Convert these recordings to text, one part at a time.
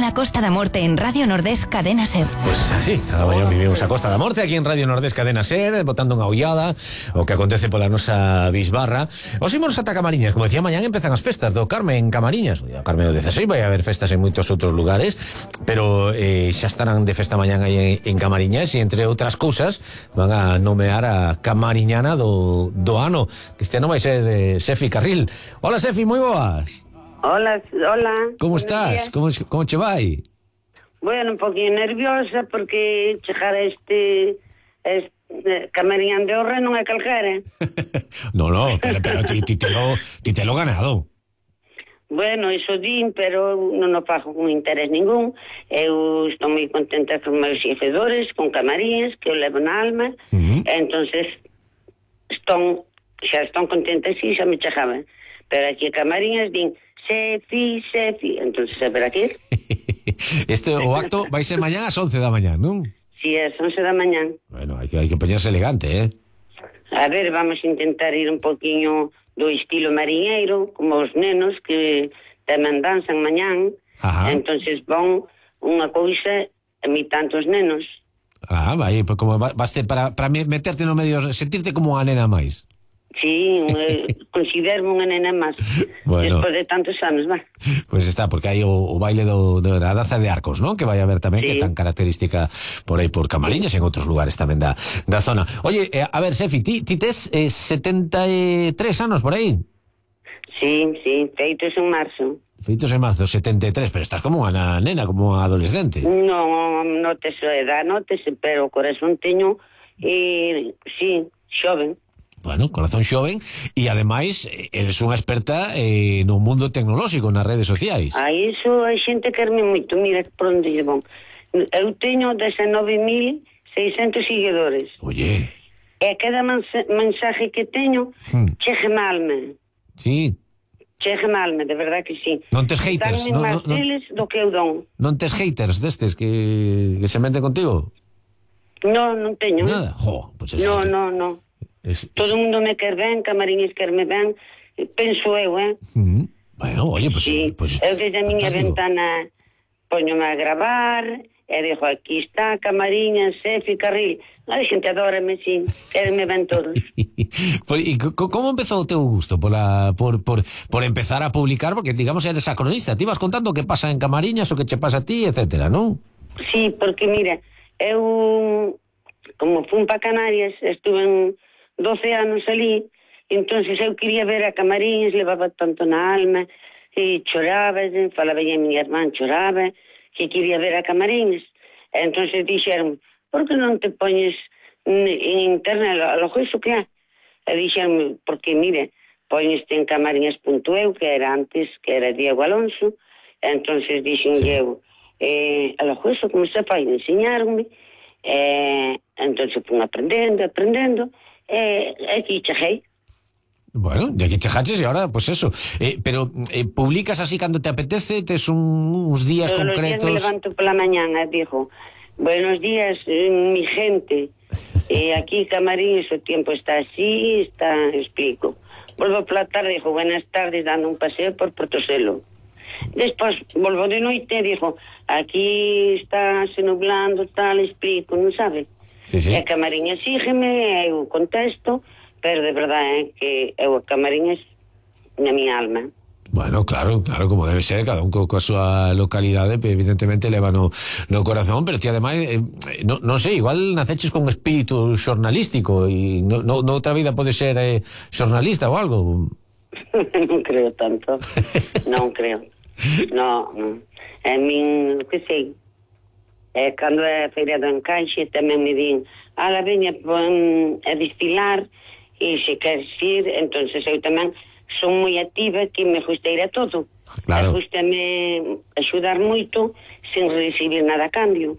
a Costa da Morte en Radio Nordés Cadena Ser. Pois así, cada mañá vivimos a Costa da Morte aquí en Radio Nordés Cadena Ser, botando unha ollada o que acontece pola nosa bisbarra. Os imos ata Camariñas, como decía, mañán empezan as festas do Carme en Camariñas. O Carme do 16 vai haber festas en moitos outros lugares, pero xa estarán de festa mañán aí en Camariñas e entre outras cousas van a nomear a camariñana do ano, que este ano vai ser Sefi Carril. Hola Sefi, moi boas. Hola. Como estás? Como che vai? Bueno, un poquinho nerviosa porque chegar a este Camariñán de Orre non é calquera. No, pero ti te lo ganado. Bueno, iso din, pero non o fago con interés ningún. Eu estou moi contenta con meus xefedores, con Camariñas, que eu levo na alma. Entonces, xa están contentas e xa me chegaban. Pero aquí a Camariñas din Sefi, entonces a ver aquí. O acto vai ser mañán ás 11 da mañán, non? Si, ás 11 da mañán. Bueno, hai que poñerse elegante, A ver, vamos a intentar ir un poquinho do estilo mariñeiro, como os nenos que tamén danzan mañán. Ajá. Entonces van unha cousa imitando os nenos. Vai, pues como baste para meterte no medio, sentirte como unha nena máis. Sí, considero unha nena máis. Bueno. Despois de tantos anos, va. Pues está, porque hai o baile da danza de arcos, ¿no? Que vai haber tamén, sí. Que é tan característica por aí por Camariñas e en outros lugares tamén da zona. Oye, a ver, Sefi, ti tes 73 anos por aí? Sí, feitos en marzo. Feitos en marzo, 73, pero estás como unha nena, como unha adolescente. Non tes a edad, pero o corazón teño, sí, xoven. Bueno, corazón xoven e ademais eres unha experta no mundo tecnolóxico, nas redes sociais. Iso a xente querme moito, mira por onde lle van. Eu teño 19.600 seguidores. Oye. E cada mensaje que teño chégame alma. Sí. Chégame alma, de verdad que sí. Non tes haters, non máis deles do que eu don. Non tes haters destes que se meten contigo? Non teño. Nada, pues eso. No. Todo o mundo me quer ben, Camariñas querme ben, penso eu, Bueno, oye, pues... Sí, pues eu desde a miña ventana poñome a gravar e dixo, aquí está Camariñas, Sefi Carril. A xente adórame, sí, querme ben todos. E como empezou o teu gusto por empezar a publicar? Porque, digamos, eres a cronista, ti vas contando o que pasa en Camariñas, o que che pasa a ti, etcétera, non? Sí, porque, mira, eu, como fun pa Canarias, estuve en 12 anos ali, entonces eu quería ver a Camariñas, levaba tanto na alma, e choraba, falaba a miña irmán, choraba, que quería ver a Camariñas. Entonces dixeron, por que non te poñes en internet a lo iso que há? E dixeron, porque, mire, poñeste en camariñas.eu, que era antes, que era Diego Alonso, entonces dixen eu, a lo iso como se fai, enseñarme, entonces fun aprendendo, aquí cheguei. Bueno, de aquí chegaches e ahora, pues eso. Pero publicas así cando te apetece, tes uns días todos concretos. Todos os días me levanto pola mañana, dijo, buenos días, mi gente. Aquí Camariñas o tiempo está así, explico. Volvo pola tarde, dijo, buenas tardes, dando un paseo por Portoselo. Despois volvo de noite, dijo, aquí está se nublando, tal, explico, non sabe? Sí. E Camariñas sígueme, eu contesto, pero de verdade que eu a Camariñas na miña alma. Bueno, claro, como debe ser, cada un coa súa localidade, evidentemente leva no corazón, pero ti ademais, non sei, igual naceches con espírito xornalístico e noutra vida pode ser xornalista ou algo. Non creo tanto, non creo. No. A min, que sei, cando é a feira do encaixe tamén me din, ala veña a destilar e se queres ir, entonces eu tamén son moi activa, que me gusta ir a todo. Claro. Gústame axudar moito sen recibir nada a cambio.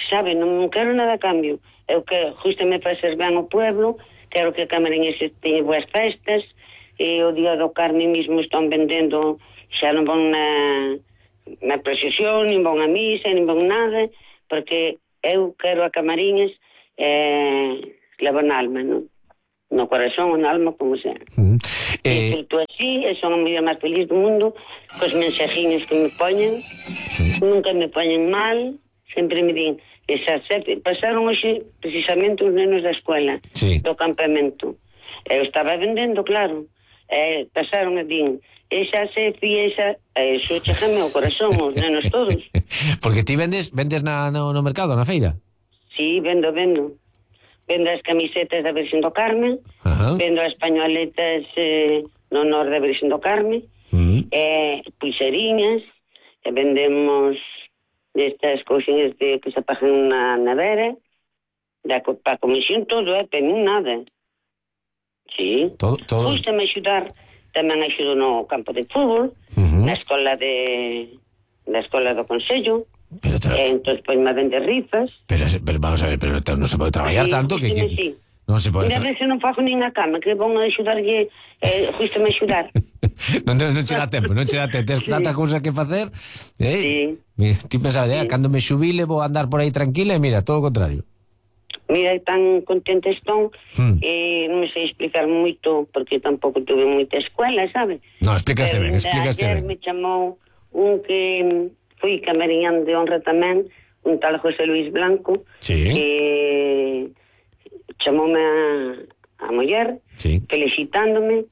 Sabe, non quero nada a cambio. Eu que gústame facer ben ao pueblo, quero que Camariñas teña boas festas, e o día do Carme mismo están vendendo, xa non van na procesión, nin van a misa, nin van nada, porque eu quero a Camariñas levo na alma, non? No corazón, na alma, como sea. Disfruto así, e son a muller máis feliz do mundo, cos mensajiños que me poñen, nunca me poñen mal, sempre me din, pasaron hoxe precisamente os nenos da escuela, do campamento. Eu estaba vendendo, claro, pasaron e din, esa Sefi, eso chegame ao corazón, os nenos todos. Porque ti vendes no mercado, na feira? Sí, vendo as camisetas da Virxen do Carme, vendo as pañoletas no honor da Virxen do Carme, pulseriñas, e vendemos destas cousinhas que se pagan na nevera, para comisión todo, pero non nada. Sí, todo. Gústame axudar, tamén axudo no campo de fútbol, na escola do Consello, entón pois me vende rifas. Pero vamos a ver, pero non se pode traballar tanto que non se pode. Mira, a veces non fago nin a cama, que vão a axudarlle, gústame axudar. non che dá tempo, tens tanta cousa que facer. Sí. Mira, ti pensaba, cando me xubile vou andar por aí tranquila, e mira, todo o contrario. Mira, tan contente estón, non me sei explicar moito, porque tampouco tuve moita escuela, sabe? No, explicaste ben. Ayer me chamou un que fui camariñán de honra tamén, un tal José Luis Blanco, que chamoume a muller, felicitándome,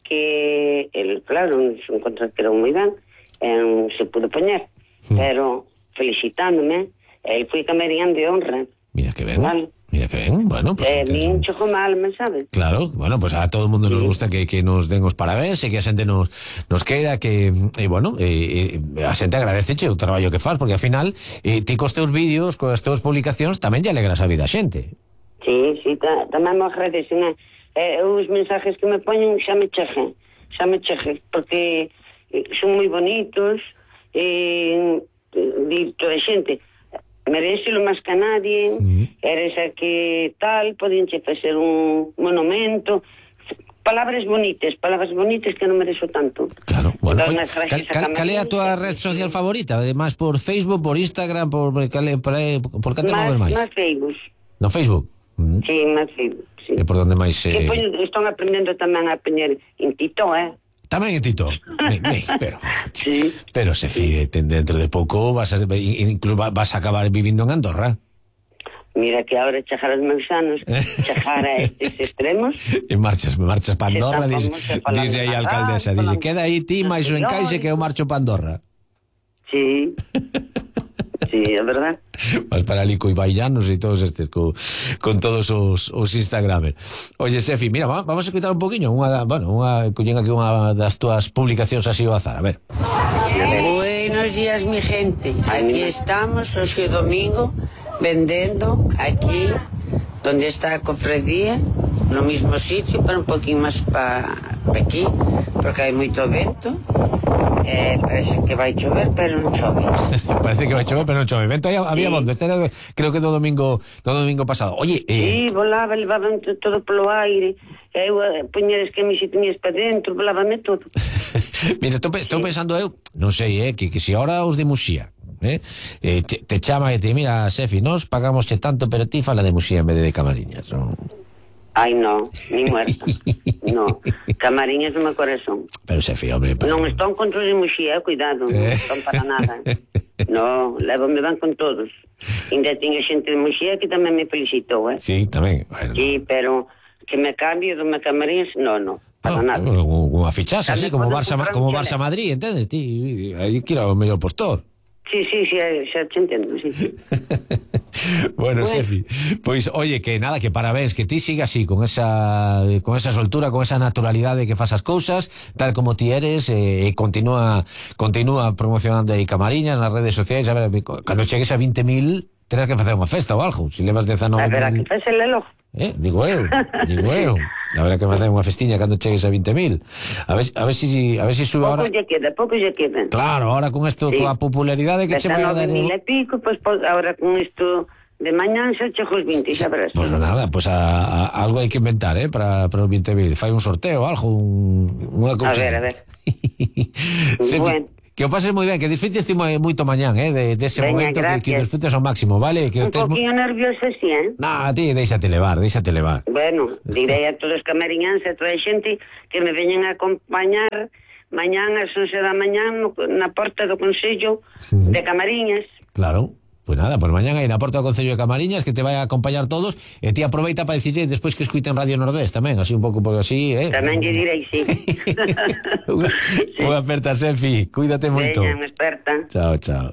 que el, claro, un contrato que era moi ben, non se pudo poñer, pero felicitándome, el fui camariñán de honra. Mira que ben. Vale. Mira que ben, bueno, pues bien choco mal, ¿sabes? Claro, bueno, pues a todo o mundo nos gusta que nos den os parabéns e que a xente nos queira que, bueno, a xente agradeceche o traballo que faz, porque ao final ti cos teus vídeos, cos teus publicacións tamén lle alegras a vida a xente. Sí, tamén me agradecen, os mensajes que me poñen xa me cheje, porque son moi bonitos, di toda a xente, merecelo máis que nadie, eres a que tal, podíanche facer un monumento, palabras bonitas que non merezo tanto. Claro, bueno, cal é a tua red social favorita? Más por Facebook, por Instagram, por cal te moves máis? Más Facebook. No Facebook? Sí, más Facebook, sí. É por donde máis están aprendendo tamén a poñer en Tito, Tamén en Tito. Pero se fide, dentro de pouco incluso vas a acabar vivindo en Andorra. Mira que ahora chegar os meus anos, chegar a estes extremos. E marchas para Andorra, dice aí a alcaldesa, dice, queda aí ti máis o encaixe que eu marcho para Andorra. Sí. Sí, é verdad. Vas para ali co Ibaillanos e todos estes con todos os Instagramers. Oye, Sefi, mira, vamos a escutar un poquinho collín aquí unha das túas publicacións así ao azar, a ver. Buenos días, mi gente. Aquí estamos hoxe domingo vendendo aquí donde está a cofradía, no mismo sitio, pero un poquín máis para aquí, porque hai moito vento. Parece que vai chover, pero non chove. Parece que vai chover, pero non chove. Vento aí había bonde. Este era, creo que do domingo pasado. Oye, sí, volaba, levaban todo polo aire. Eu poñer as camisetinhas para dentro, volábame todo. Mira, estou pensando eu, non sei, que se ahora os de Muxía te chama e te mira, Sefi, nos pagamos tanto, pero ti fala de Muxía en vez de Camariñas, non? Ai, no, ni muerta. No, Camariñas no meu corazón. Pero Sefi, hombre... Non están contra os de Muxía, cuidado, non están para nada. No, lévame van con todos. Ainda tiña xente de Muxía que tamén me felicitou, Sí, tamén. Bueno. Sí, pero que me cambie do meu Camariñas, no, para nada. Unha fichaxe así, como Barça Madrid, entendes? Ti, aí quiero o mellor postor. Sí, xa te entendo, sí. Bueno, Sefi, pois, oye, que nada, que parabéns, que ti siga así, con esa soltura, con esa naturalidade que fas as cousas, tal como ti eres, e continúa promocionando aí Camariñas nas redes sociais. A ver, cando chegues a 20.000, terás que facer unha festa ou algo, se levas 19.000... A ver, que faz el reloj. Digo eu. Habrá que facer unha festiña cando chegues a 20.000. A ver si sube ahora. Pouco lle queda. Claro, ahora con isto, coa popularidade que che vai a dar. 19.000 e pico, pues ahora con isto de mañán xa chego os 20, xa verás. Pues nada, pues algo hai que inventar, para os 20.000. Fai un sorteo, algo, unha cousa. A ver. Sefi, bueno. Que o pases moi ben, que disfrutes moito mañán, de ese momento, que o disfrutes ao máximo, vale? Que Un poquinho nervioso, sí, Nah, ti, déixate levar. Bueno, direi a todos os camariñáns e toda a xente que me veñen a acompañar mañán ás 11 da mañán na porta do Consello de Camariñas. Claro. Pues nada, pues mañana aí na porta do Concello de Camariñas, que te vai a acompañar todos, e ti aproveita para dicirle despois que escuiten Radio Nordés tamén, así un pouco por así, Tamén lle direi, sí. Unha aperta, Sefi, cuídate moito. Veña, unha aperta. Chao.